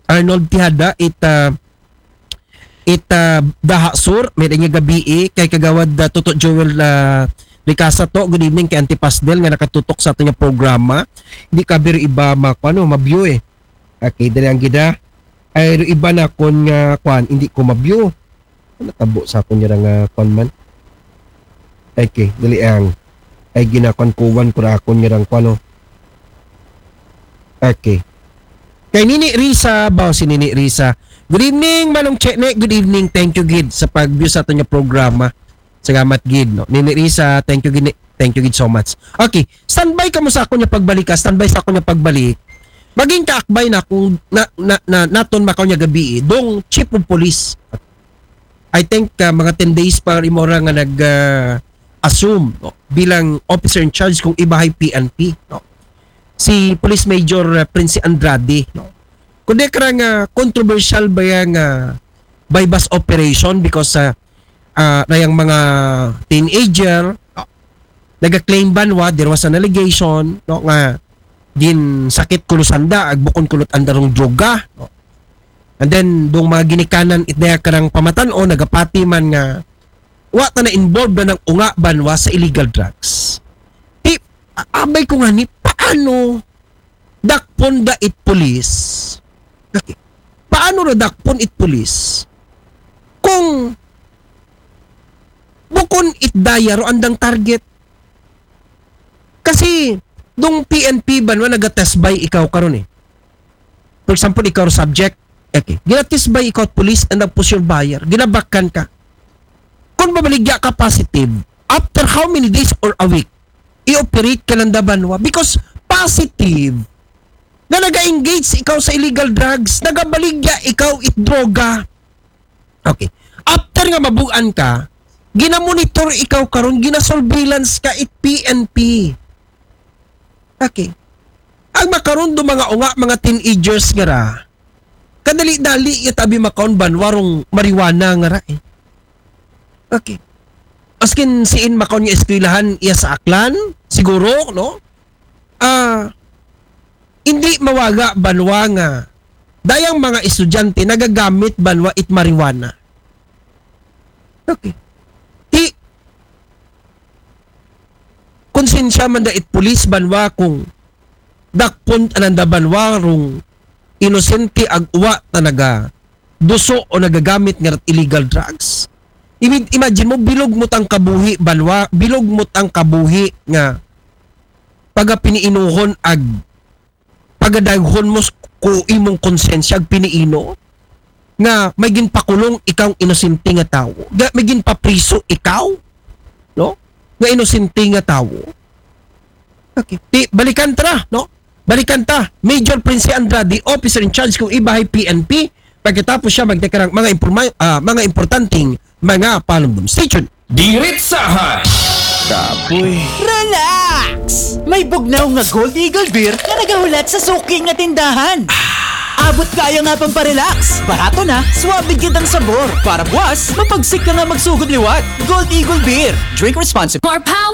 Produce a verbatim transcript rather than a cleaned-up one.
Arnold Tihada, it, ah, it, ah, Daha Sur, may nga gabi, eh, kay Kagawad, ah, Toto Joel, ah, Ricasa to. Good evening kay Auntie Pasdel nga nakatutok sa ato nga programa. Hindi ka biro iba ma-, ano, ma-view, eh. Okay, dali ang gida. Ay, ro iba na kon nga, kwan, hindi ko ma-view. Ano tabo sa akon nga nga, kwan man? Okay, dali ang. Ay, ginakuan-kuan ko ra akon nga rang, kwan, oh. Okay. Kay Nini Risa, ba, si Nini Risa. Good evening, Manong Chene. Good evening. Thank you, gid, sa pag-view sa aton nga programa. Salamat, gid, no? Nini Risa, thank you, gid. Thank you, gid, so much. Okay, standby ka mo sa akon nga pagbalik, ha? Standby sa akon nga pagbalik. Maging kaakbay na kung na, na, na, naton makaw nga gabi, eh, dong chief of police. I think, uh, mga ten days pa rin mo ra nga nag, uh, assume, no, bilang officer in charge kung ibahay P N P, no. Si Police Major, uh, Prince Andrade, no. Kundi karang, uh, controversial ba yang, uh, buy-bust operation because, uh, uh, na yung mga teenager, no, nag-claim banwa, there was an allegation, no, nga ginsakit kuno sanda, agbukon kulot andarong droga, no? And then, dong mga ginikanan, it daya karang pamatan o nagapati man nga, wa ta na involved na ng unga banwa sa illegal drugs. Ti, a-, abay ko nga ni, paano dakpon da it police? Okay. Paano ra dakpon it police? Kung bukon it daya ro andang target. Kasi, dong P N P banwa naga-test buy ikaw karon, eh. For example, ikaw subject, okay. Gina-test buy ikaw at police and ang push your buyer. Ginabakan ka. Kung mabaligya ka positive, after how many days or a week, i-operate ka lang da banwa? Because positive, nga naga-engage ikaw sa illegal drugs, nagabaligya ikaw it droga. Okay. After nga mabuan ka, ginamonitor ikaw karon, ginasurveillance ka it P N P. Okay. Ang makaron do mga unga, mga teenagers nga ra, kadali-dali ya tabi makaon banwa rong marijuana nga ra, eh. Okay. Askin siin makaon nga eskwelahan iya sa Aklan, siguro, no? Ah, hindi mawaga banwa nga dayang mga estudyante nagagamit banwa it marijuana. Okay. Ti, konsensya man da it pulis banwa kung dakpon tanan da banwa rong inosente ag uwa ta naga duso o nagagamit nga illegal drugs. Ima-, imagine mo, bilog mo tang kabuhi, banwa, bilog mo tang kabuhi nga pagapiniinuhon ag pagadaghon mo s-, ku imong konsensya ag piniino nga may ginpakulong ikaw inosente nga tawo, nga may ginpapriso ikaw, no? Nga inosente nga tawo. Okay. Ti, balikan ta na, no? Balikan ta, Major Prince Andrade, officer in charge kung ibahay P N P, pagkatapos siya magdeklarang mga imporma-, ah, mga importanteng mga panumdum. Stay tuned. Diritsahan. Kapoy. Relax! May bugnaw nga Gold Eagle Beer nga nagahulat sa suki nga tindahan. Abot kaya nga pamparelax. Barato na, suabe gid ang sabor. Para buwas, mapagsik ka nga magsugod liwat. Gold Eagle Beer. Drink responsibly. More power